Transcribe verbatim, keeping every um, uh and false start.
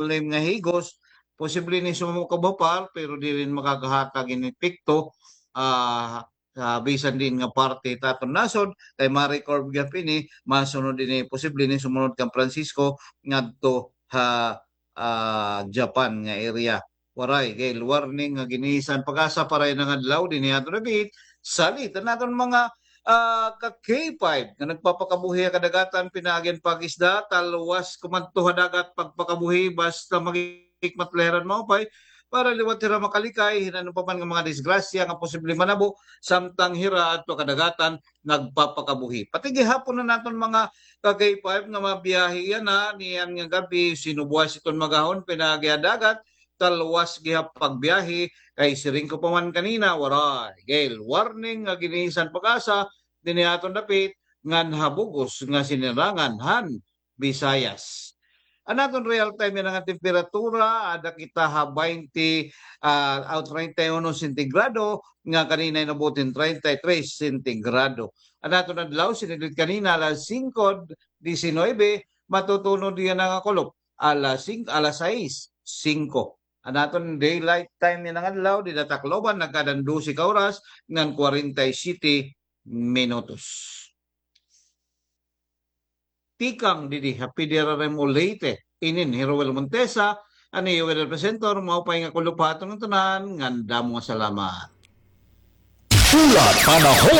name nga higos, posible ni sumamo kabapar, pero diri makagahakag hin epekto, ah, sa bisan diin nga parte ta aton nasod, kay ma-record gihap ini, masunod ini, posible ni sumunod kan Francisco ngadto ha, ah, Japan nga area. Waray, gale warning nga ginisan PAGASA para ini nga adlaw dinhi ha aton dapit. Salit an aton mga, ah, ka K five nga nagpapakabuhi ha kadagatan, pinaagi an pag-isda, talwas kumadto ha dagat pagpakabuhi, basta maghikmat la hira hin maupay para liwat hira makalikay hin ano pa man nga mga disgrasya nga posible manabo samtang hira adto ha kadagatan nagpapakabuhi. Pati gihapon an aton mga ka K five nga mabiyahe yana niyan nga gab-i, sinubuas iton magahon pinaagi ha dagat, talwas gihap pagbiyahe, kay siring ko pa man kanina, waray, gale warning nga ginisan PAGASA dinhi ha aton dapit ngan ha bug-os nga sinirangan han Visayas. An aton real time yana nga temperatura, ada kita ha baynte, ah, aw, treinta y uno sentigrado, nga kanina inabot hin treinta y tres sentigrado. An aton adlaw, sinidlit kanina alas singko disinuybe, matutunod yana nga kulop alas singko, alas sais singko. An aton daylight time yana nga adlaw, dida Tacloban, nagkada-an dose ka oras ngan kwarenta y siyete minutos. Tikang didi ha P D R R M O Leyte, inin hi Roel Montesa, an iyo weather presenter, maupay nga kulop ha aton ngatanan, ngan damo nga salamat. Hulat panahon.